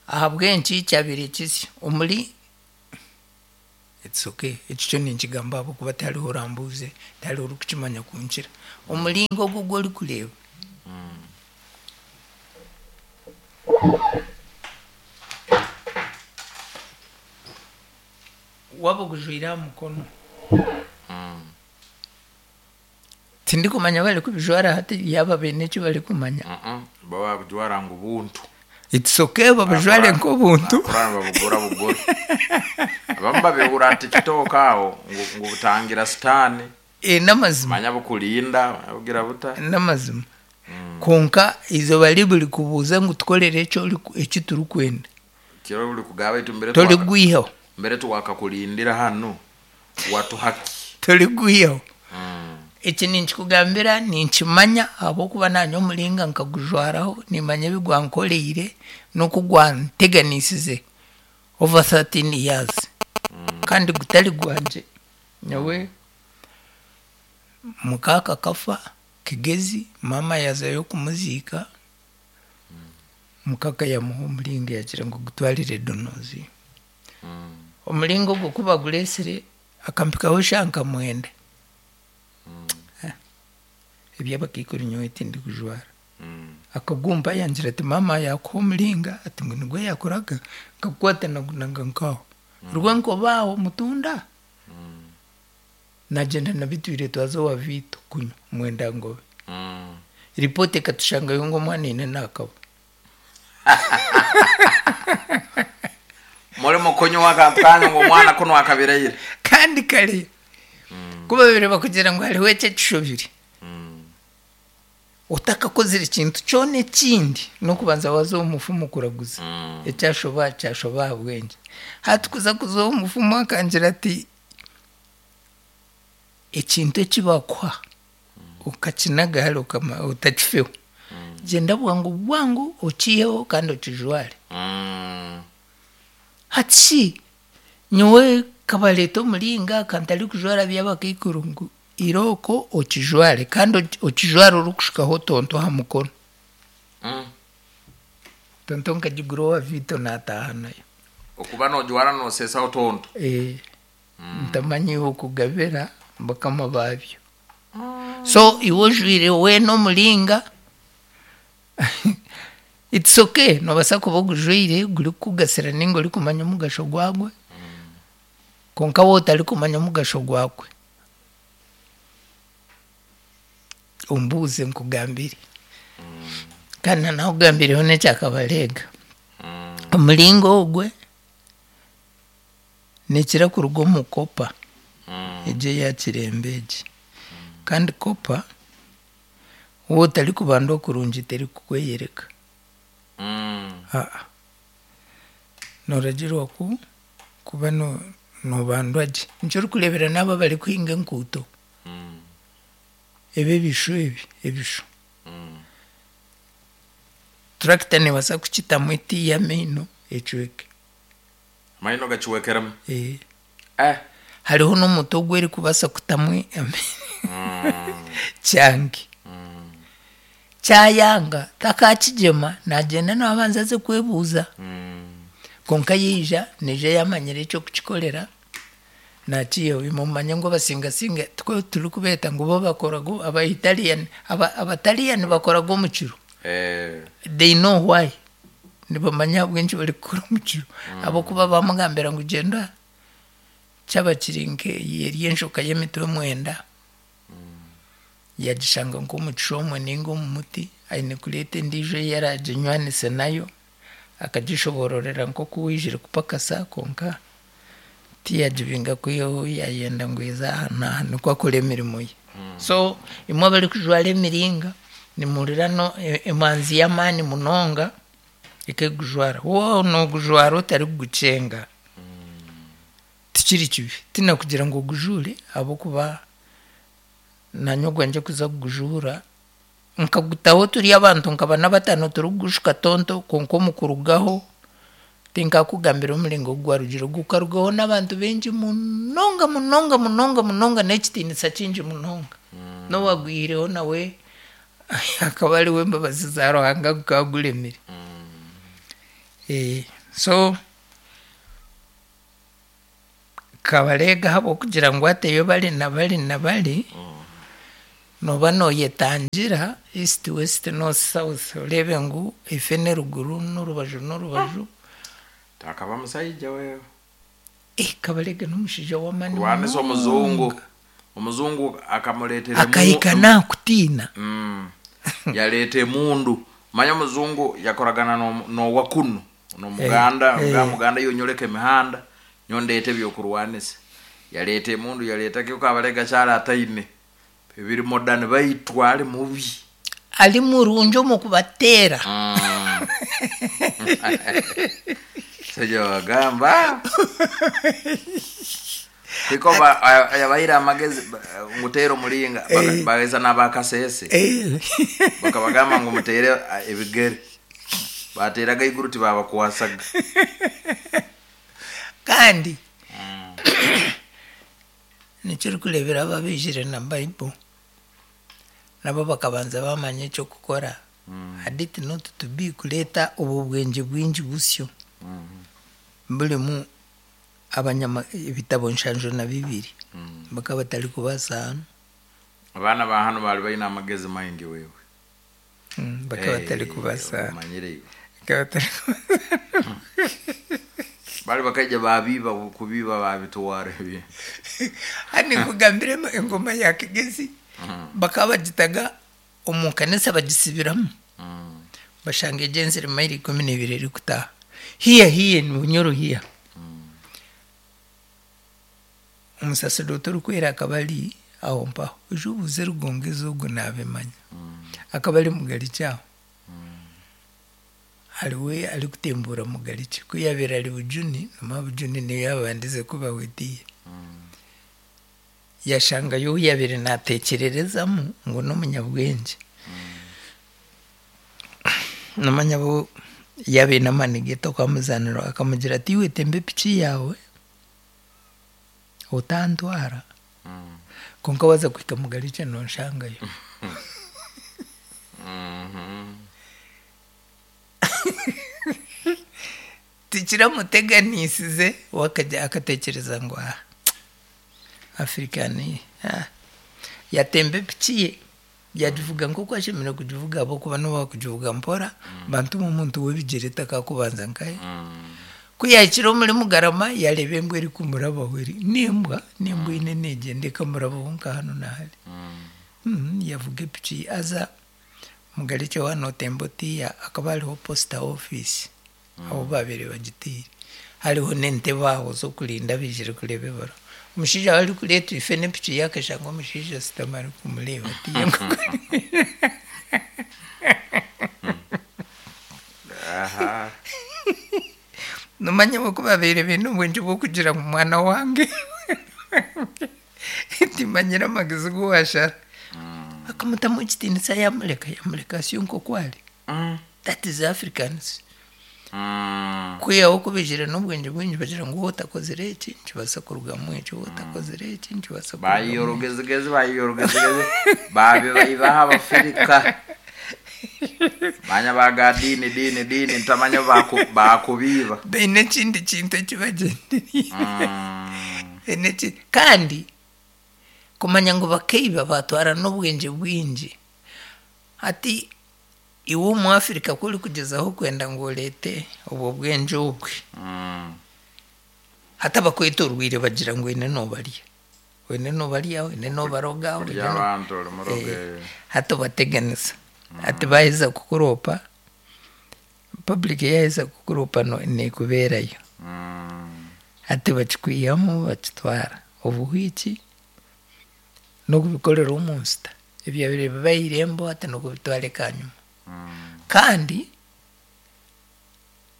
Ahabw'enki kyabaire kisya omuri, it's okay, eki kyo ninkigamba ahabw'okuba tihariho orambuuze, tihariho orikukimanya kunkira. Omuringo ogu ogu orikureeba waaba ogujwaire aha mukono, tindikumanya barikubijwara hati yaaba baine eki barikumanya. Mm-mm. Baba babujwara ngu buntu. It's okay, babujware nk'obuntu. Bakura babugura bugura. Abamu babihura TikTok aho ngu ngu butangira sitaani. Eh, n'amazima. Manya bukulinda bugira buta. N'amazima, konka izooba riburi kubuuza ngu tukorere eki oriku- eki turikwenda, Kiro buri kugaba itu mbere twaka, torigwihaho. Mbere twakakulindira hano watuhaki. Torigwihaho. Mm. Eki ninkikugambira ninkimanya ahabw'okuba naanye omuringa nkagujwaraho, nimanya ebi gwankoreire n'oku gwanteganisize over thirteen years kandi gutari gwangye. Nyowe mukaaka akafa Kigezi, maama yazayo kumuziika, mukaka yamuha omuringa, yagira ngu gutwarire Donozi. Mm. Omuringo ogwo ku bagureesire akampikaho shaaha nka mwenda. Ah, eby'abakaikuru nyowe tindikujwara. Mm. Akagumpa yangira ati maama yakuha omuringa, ati ngu nigwe yakoraga, nkakukwata nagunaga nkaho rwenkoba aho mutunda, nagyenda nabitwire, twaza owa Viito kunywa mwenda ngobe. Mm. Ripooti ekatushangayo ngu omwana aine naakaba. Muri mukunywa akantu kanyu ngu omwana kuno akabiraire. Kandi kare kuba babiri bakugira ngu hariho eki ekishobire, Mm. otakakozire ekintu kyona ekindi n'okubanza waza omu mufumu kuraguza. Mm. Ekyashoba kyashoba aha bwengye. Hati kuza kuza omufumu akangira ati ekintu eki bakuha okakinaga hare okama otakifeho, gyenda bwangu bwangu okiiheho kandi okijware. Mm. Hati shi nyowe kabareeta omuringa kantarikujwara by'abakaikuru, ngu irooko okijware kandi oki- okijware orikushukaho tonto aha mukono. Mm. Tonto nkagigura owa Viito naataaha nayo. Okuba nojwara nosesaho tonto. Eh, ntamanyi okugabira bakama babyo. So iwe ojwire weena omuringa, it's okay, nobaasa kuba ogujwaire gurikukugasira ninga orikumanya omugasho gwagwe, konka waaba otarikumanya omugasho gwagwe, ombuuze nkugambire. Kandi nakugambireho n'ekyakabareega. Mm. Omuringa ogwe nikira kuruga omu copper. Mm. Egyo eya kirembe egi, kandi copper waaba otarikubandwa kurungi terikukweyereka. Mm. Aa, nooragirwa ku kuba no- nobandwa gye, nikyo orikureebera n'abo abarikuhinga enkuuto. Mm. Ebi ebishu ebi ebishu. Turakita neebaasa kukitamu etiiya amaino ecweke. Amaino gaciwekeremu? Eh. Eh. Hariho n'omuti ogu erikubaasa kutamu kyange. Kyayanga takakigyema, nagyenda nabanza aze kwebuuza. Kwonka yaija, naija yamanyire ekyokukikorera, nakiihaho. Imwe mumanye ngu abasingasinga tikwo turikubeeta ngu bo bakoraga aba Italian, aba Abataliyani bakoraga omu kiro. Eh. They know why. Nibamanya ahabw'enki barikukora omu kiro. Ahabw'okuba bamugambira ngu gyenda kyaba kiri nk'eyi eri enjoka y'emitwe mwenda, yagishanga nk'omu kishomwe ninga omu muti, aine kureeta endiijo ei araaginywanise nayo, akagishoboororera nk'oku waijire kupakasa kwonka tiyagibinga kwihaho yayenda ngu eze aha n'aha nikwo akora emirimo ye. So imwe abarikujwara emiringa nimuhurira no emanzi y'amaani munonga ekegujwara. Waaba noogujwara otarikugukyenga tikiri kibi. Tinakugira ngu ogujuure ahabw'okuba naanye ogwangye kuza kugujuura nkagutaho turi abantu nka bana bataano turikugushuka tonto, kwonka omu kurugaho tinkakugambira omuringo ogu gwarugire. Gukarugaho n'abantu baingi munonga munonga munonga munonga n'ekitiinisa kingi munonga. N'owaagwihireho nawe akaba ari w'embabazi za Ruhanga gukaba guremire. Eh, so Kabareega ahabw'okugira ngu ateyo bari na bari na bari, nooba nooyetangira east, west, north, south, oreebe ngu efe n'eruguru n'orubaju n'orubaju. Takaba musaija wewe. Eh, Kabareega n'omushaija w'amaani. Kurwanisa omuzungu. Omuzungu akamuleetera emu- Akahika naakutiina. Mm. Yaleeta emundu. Manya omuzungu yakoragana n'omu- n'owakunu n'omuganda. Eh, eh. eh. Muganda yonyoleka emihanda nyondeeta ebyokurwanisa, yaleeta emundu, yaleeta kyo Kabalega kyali ataine ebiri modern, baitu ali mubi. Ari murungi omu kubateera. Mm. Saija wagamba tiko ba- aya- yabaire amagezi ba- nguteera omulinga baka- Eh. bageza n'abakasese. Eh. Bakabagamba ngu muteere ah, ebigere, bateraga iguru tibabakwasaga. Kandi nikyo orikureebera abo abaijire na Bible nabo bakabanza bamanya ekyokukora. Had it not to be kureeta obwo bwengye bwingi busyo burimu abanyama ebitabo nshanju na bibiri, bakaba batarikubaasa hanu. Abaana ba hano bali balina amagezi maingi wewe. Mm, bakaba batarikubaasa hanu. Omanyire iwe. Bakaba batarikubaasa. Bali bakaija babiba kubiba babitwara ebi. Hano nkugambire engoma ya Kigezi bakaba bagitaga omu kanisa bagisibiramu, bashanga egyenzire mayiro ikumi n'ibiri erikutaaha hiya hiya ni Bunyoro hiya. Omusaserdooti orikwera akaba ari aho mpaho, oije obuuze Rugongezi ogu naabimanya, akaba ari Mugarikye aho, hariwe arikutembuura Mugarikye. Ku yaabaire ari Bujuni, nomanya Bujuni niyo yaabandize kubaho etiiya, yashangayo ou yaabaire naateekyererezamu ngu n'omunyabwengye. Nomanya bo yaaba aine amaani ge tokamuzaanira, akamugira ati, iwe temba epiki yaawe otantwara, kwonka waaza kuhika Mugarikye nonshangayo. Tikiramuteganisize, we akagya akateekyereza ngu ah, African ah. Yatemba epiki ye yagivuga nk'oku ashemereire kugivuga, ahabw'okuba noba wakugivuga mpora bantu omuntu w'ebigyere takakubanza nkahe. Ku yahikire omuri Mugarama yareeba embwa erikumurabaho, eri n'embwa n'embwa eine neegyenda ekamurabaho nka hanu na hari. Mm, yavuga epiki ye aza Mugarikye waaba nootemba otiiya hakaba hariho posta office ahu baabaire bagitiire, hariho n'entebe aho z'okurinda abaijire kureeba ebaruha. Omushaija waaba arikureetwa ife n'epiki ye akashanga omushaija ashutami arikumureeba atiiya. Aha. Nomanya bo ku babaire baine obwengye bw'okugira ngu mwana wange timanyire amagezi gu washara. Akamutamu ekitiinisa yamureka, yamureka asyo nk'oku ari. Mm. That is Africans. Mm. Kwihaho ku baijire n'obwengye bwingi bagira ngu wowe otakozire eki nikibaasa kurugamu eki, wowe otakozire eki nikibaasa kurugamu Bayiya eki. orugezigezi, bayiya orugezigezi, babibayibaho Abafirika. Manya baga diini diini diini ntamanya baku bakubiiba. Baine ekindi kintu eki bagyendereire. Mm. Baine eki- kandi kumanya ngu bakaiba batwara n'obwengye bwingi. Hati iwe omu Africa ku orikugyezaho kwenda ngu oreete obwo bwengye obwe, Mm. hati abakwetorweire bagira ngu oine noobarya. Oine noobarya, oine noobaroga, oine Kurya no- abantu ori muroga. Eh, hati obateganisa. Hati baaheza kukuroopa, public yaaheza kukuroopa no- neekubeerayo. Mm. Hati bakikwihamu bakitwara. Obuhwiki n'okubikorera omu nsita. Ebyabaire biba aha irembo hati n'okubitwara ekanyima. Mm. Kandi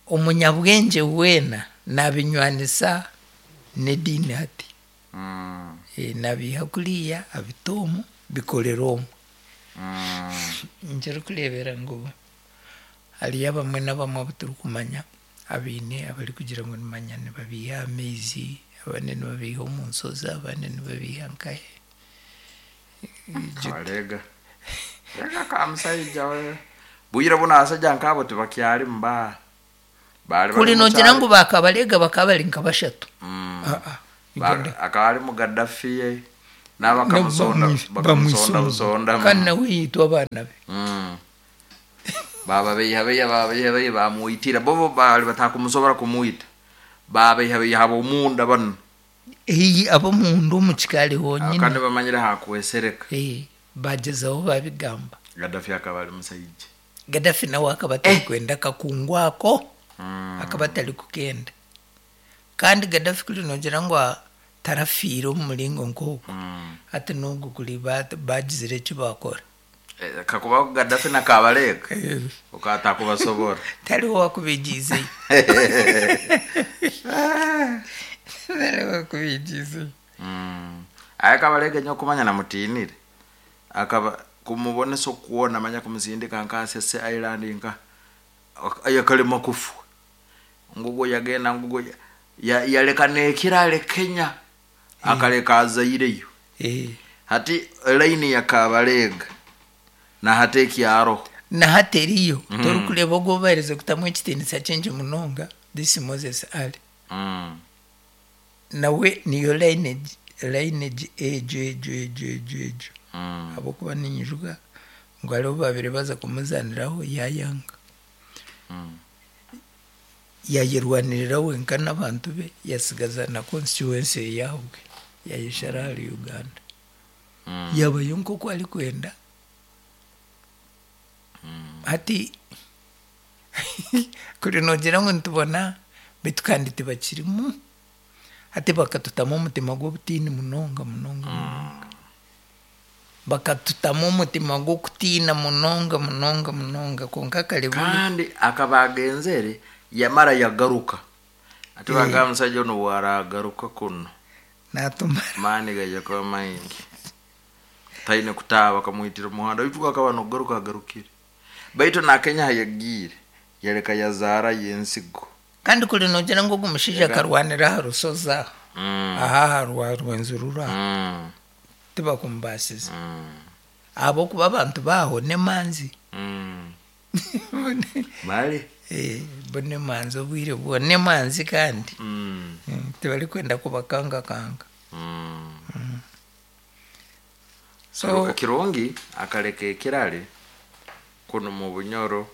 omunyabwengye weena naabinywanisa n'ediini hati. Mm. Eh, naabiiha kuriya abita omu, bikorera omu. Mm. Nkirikureebera ngu hariyo abamwe n'abamwe abu turikumanya abaine abarikugira ngu nimanya nibabiiha aha maizi, abandi nibabiiha omu nshozi, abandi nibabiiha nkahe. Kabalega. Reka ka musaija we. Bwire buno abasajja nk'abo tibakyarimu ba. Bali bari Kuri mu noogira kyaro. ngu baakabarega bakaba bari nka bashatu. Mm. Ah, ah, Ba- Uganda. akaba ari mu Gaddafi ye. N'abakamusonda Bamwi- bakamusonda bamwisonda. busonda. Kandi nawe yiitwa abaana be. Mm. Bababeiha beiha bababeiha beiha bamwitira bobo bali batakumusobora kumwita. Babeiha beiha ab'omunda bano. Iyi ab'omunda omu kikaari honyine. Kandi bamanyire hakwesereka. Eh, bagyezaho babigamba. Gaddafi akaba ari musaija. Gaddafi nawe akaba atarikwenda akakungu ako, Mm. akaba atarikukenda. Kandi Gaddafi kuri noogira ngu a- tarafiire omu muringo nk'ogwo. Mm. Hati n'ogwo kuri ba- bagizire eki baakora. Eh, kakuba Gaddafi na Kabarega okatakubasobora. Tariho wakubigiizeyo. Tariho wakubigiizeyo. Mm. Aye Kabarega nyokumanya namutinire. Akaba kumubonesa okuwona manya kumusindika nka Sese Island nka ayakalema kufu. Ngugo yagenda ngugo ya- ya, yaleka nekirale Kenya akaleka azaireyo. Eh. Hati line ya Kabarega na hati ekyaro. Na hati eriyo torikureeba ogwo obahereze kutamu ekitiinisa kingi munonga this Moses Ali. Mm. Nawe niyo lineage lineage egyo egyo egyo egyo egyo. Mm. Ahabw'okuba ninyijuka ngu hariho babiri baza kumuzaniraho yayanga. Mm. Yayerwanirira wenka n'abantu be yasigaza na constituency eyaabwe yayeshara ahari Uganda. Mm. Yabayo nk'oku arikwenda. Hati kuri noogira ngu nitubona beitu kandi tibakirimu. Hati bakatutamu omutima gw'obutiini munonga munonga munonga. Bakatutamu omutima gw'okutiina munonga munonga munonga konka kare buri Kandi akaba agenzere yamara yagaruka. Ati bagamba musajja ono bwaragaruka kuno naatumara. maani gaija kuba maingi. Taine kutaaba bakamwitira omuhanda baitu akaba nokugaruka agarukire. Baitu na Kenya hayagiire yaleka yazaara yensigo. Kandi kuri noogira ngu ogu mushaija Ega. akarwanira aha rushozi aha. Mm. Aha aha rwa Rwenzururu aha. Mm. Tibakumbaasize. Mm. Ahabw'okuba abantu baaho n'emanzi. Mm. Mali. Eh, bo n'emanzi obwire bwona n'emanzi kandi. Mm. Mm, tibarikwenda kubakangakanga. Mm. So Kirungi akaleka ekirale kuno mu Bunyoro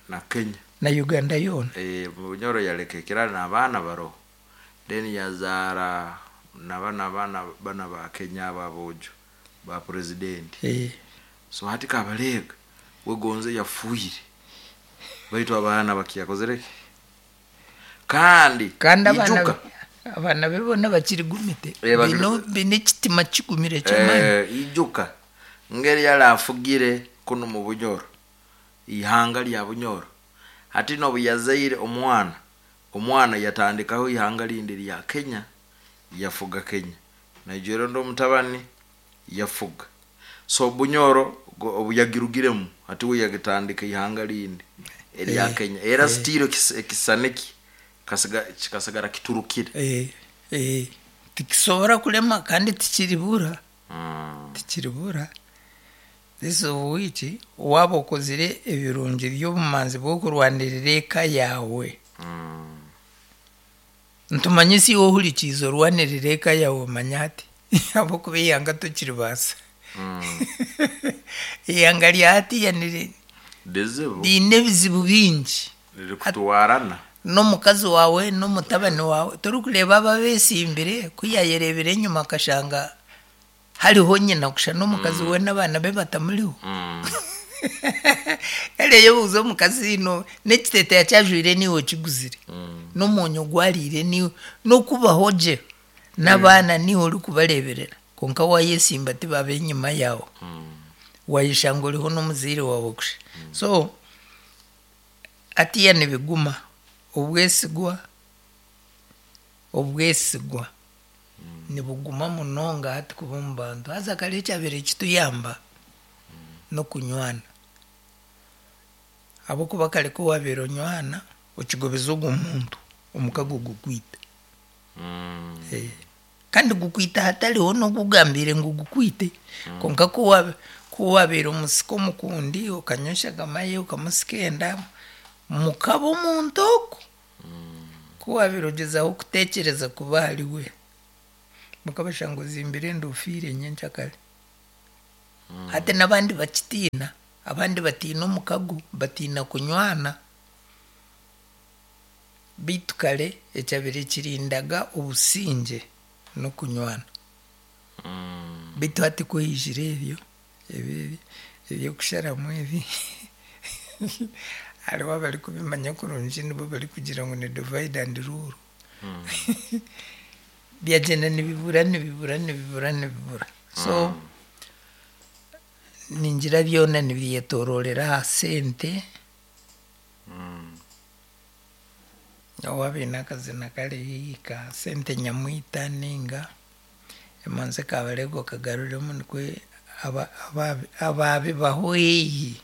na Kenya. na Uganda yoona. Eh, mu Bunyoro yaleka ekirale n'abaana baroho. Then yazaara nabana abaana bana ba Kenya abo aboojo ba president. Eh, So hati Kabarega wegonze yafuire. Baitu abaana bakiyakozere ki? Kandi kandi abaana ijuka be- abaana be boona bakirigumite. Eh, bakiri- Baine baine ekitima kigumire ky'amaani. eh, ijuka ngeri yali afugire kuno mu Bunyoro ihanga lya Bunyoro. Hati nobu yazaire omwana, omwana yatandikaho ihanga lindi lya Kenya yafuga Kenya. Nigeria ndo omutabani yafuga. So Bunyoro go- obu yagirugiremu hati we yagitandika ihanga rindi erya Eh, Kenya, era eh. still ekis- ekisane ki kasiga- kikasigara kiturukire. Eh, eh, tikisobora kulema kandi tikiribura. Mm. Tikiribura. This of which waaba okozire ebirungi by'obumanzi bw'okurwanirira eka yaawe. Mm. Ntumanye si iwe ohurikiize orwanirira eka yaawe, omanya hati ahabw'okuba eihanga tokiribaasa. Mm. Eihanga rya hatiya niri- Bizibu. riine ebizibu bingi. Riri kutwarana. N'omukazi waawe n'omutabani waawe torikureeba aba abeesimbire, ku yaayereebire enyima akashanga hariho nyina kusha n'omukazi we n'abaana be batamuriho. Mm. Kare yebuuza omukazi no n'ekiteteeya kyajwaire niiwe okiguzire, Mm. n'omwonyo gwariire niiwe, n'okubaho gye n'abaana niiwe orikubareeberera, kwonka waayesimba tibaba enyima yaawe. Mm. Wayeshanga oriho n'omuzaire waawe kusha. So hatiya nibiguma obwesigwa obwesigwa nibuguma munonga hati kuba omu bantu. Haza kare ekyabaire kituyamba n'okunywana, ahabw'okuba kare ku waabaire onywana okigobeza ogwo muntu, omukago gukwita. Mm. Eh, kandi gukwita hatariho n'okugambiire ngu gukwite. Kwonka ku wa- ku wabaire omusika omukundi, okanywa eshagama ye, okamusika enda, mukaba omuntu ogu, ku wabaire ogyezaho kutekyereza kuba ahari we, mukabashanga ozimbire enda, ofiire nyenkyakare. Hati n'abandi bakitiina, abandi batiina omukago, batiina kunywana. Beitu kare ekyabaire kirindaga obusingye n'okunywana. Mm. Beitu hati ku haijire ebyo ebi ebi- ebyokusharamu ebi, hariho abarikubimanya kurungi nibo barikugira ngu ni divide and rule. Byagyenda nibibura, nibibura, nibibura, nibibura. So ningira byona nibyetororera aha sente. Mm. Owaaba aine akazina kari ka sente nyamwita ninga emanzi kabarego kagaruremu, nikwe aba- aba- ababibaho haihi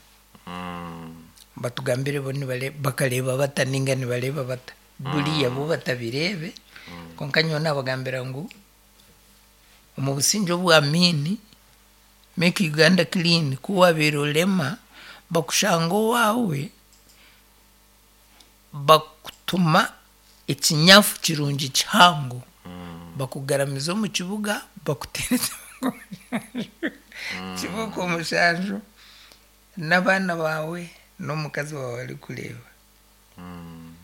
Mm. batugambire bo nibare- bakareeba bata ninga nibareeba bata buriya bo batabireebe. Konka nyowe nabagambira ngu omu busingye obwa Amiini, Make Uganda Clean, ku wabaire orema bakushanga owaawe, bakutuma ekinyafu kirungi kihango, bakugaramiza omu kibuga, bakuteera kibuga omushanju n'abaana baawe n'omukazi waawe arikureeba. Mm.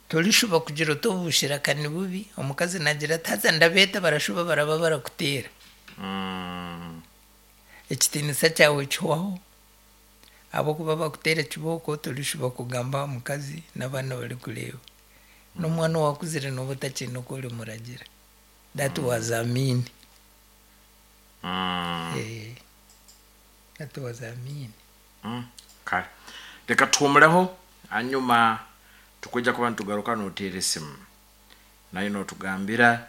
Torishuba kugira oti obushiraka ni bubi. Omukazi nagira ati, "Haza ndabeeta," barashuba baraba barakuteera. Mm. Ekitiinisa kyawe kihwaho ahabw'okuba bakuteera kibooko. Torishuba kugamba aha mukazi n'abaana barikureeba, n'omwana owakuzire nooba otakiine oku orimuragira. That was Amin. Mm. Eh, that was Amin. Mm. Kale reka tuhumureho, hanyuma tukujja kuba nitugaruka noteera esimu nayo notugambira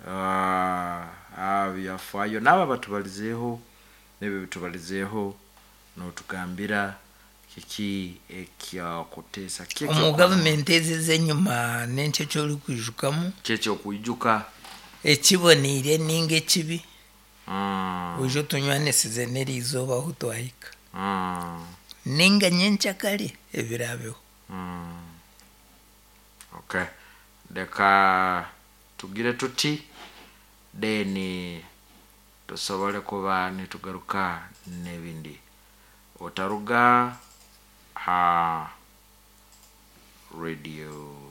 uh, byafaayo naaba batubalizeeho nebyo bitubalizeeho, notugambira kiki ekyakuteesa, ki Omu ekyokukola. gavumenti ezi ez'enyima n'enki eki orikwijukamu? Ki ekyokwijuka? Ekiboniire ninga ekibi? Mm. Oije otunywanisize n'eriizooba ahu twahika, Mm. ninga nyenkyakare ebiraabeho. Mm. Okay, reka tugire tuti then tusobole kuba nitugaruka n'ebindi. Otaruga ha radio.